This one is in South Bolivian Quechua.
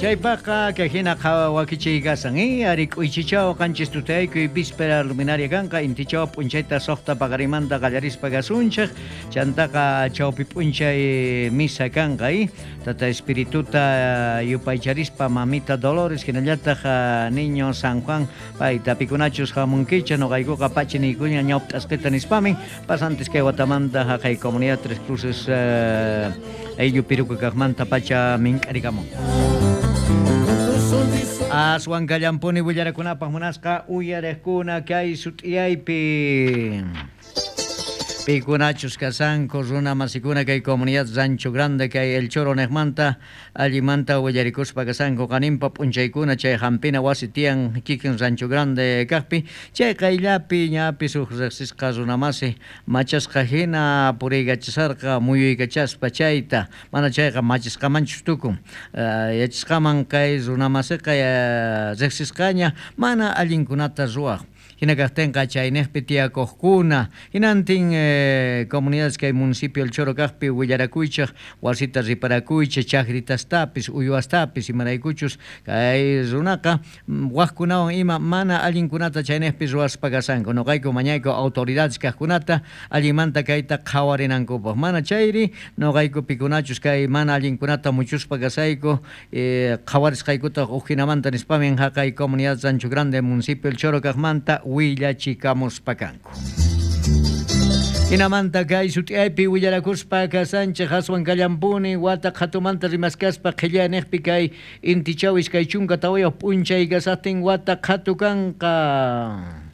Chaypaqqa kay hina wakichiy kasan, ari k'uychichaw 7 tutaykuy víspera luminaria kanqa, intichaw p'unchayta 6 paqarimanta qallarispa kasunchik, chantaqa chawpi p'unchay misa kanqa, tata espirituta yupaycharispa mamita Dolores hinallataq niño San Juan payta pikunachus hamunkichik noqaykuqa pachi niykuña ñawpt'asqita nispamin pasantes kay watamanta haqay comunidad Tres Cruces ayllu piruka kaqmanta pacha mink'arikamun. Aswan kallampuni willarakunapaq munasqa uyariqkuna kay sut'iyaypi. Pikunachus kasanku runa masikuna kay comunidad Rancho Grande kay El Choro niqmanta allimanta willarikuspa kasanku qaninpa p'unchaykuna chay hampina wasi tiyan kikin Rancho Grande kaqpi chay qayllapi ñapis huk riqsisqa runamasi machasqa hina puriykachasarqa muyuykachaspa chayta mana chayqa machisqamanchus tukun yachasqaman kay runamasiqa riqsisqaña mana allinkunata ruwaq. Hina kaqtinqa chayniqpi tiyakuqkuna hinantin comunidades kay municipio El Choro kaqpi willarakuychik wasita riparakuychik chakritastapis uywastapis imaraykuchus kay runaqa waqkunawan ima mana allinkunata chayniqpi ruwaspa kasanku noqayku mañayku autoridades kaqkunata allinmanta kayta qhawarinankupaq mana chayri noqayku pikunachus kay mana allinkunata muchuspa kasayku qhawarisqaykutaq uj hinamanta nispamin haqay comunidad Rancho Grande municipio El Choro kaqmanta willachikamuspa kanku. Hinamanta kay sut'iyaypi willarakuspa kasanchik aswan kallampuni wata qhatumanta rimaskaspa qhillaniqpi kay intichaw 24 p'unchay kasaqtin wata qhatu kanqa.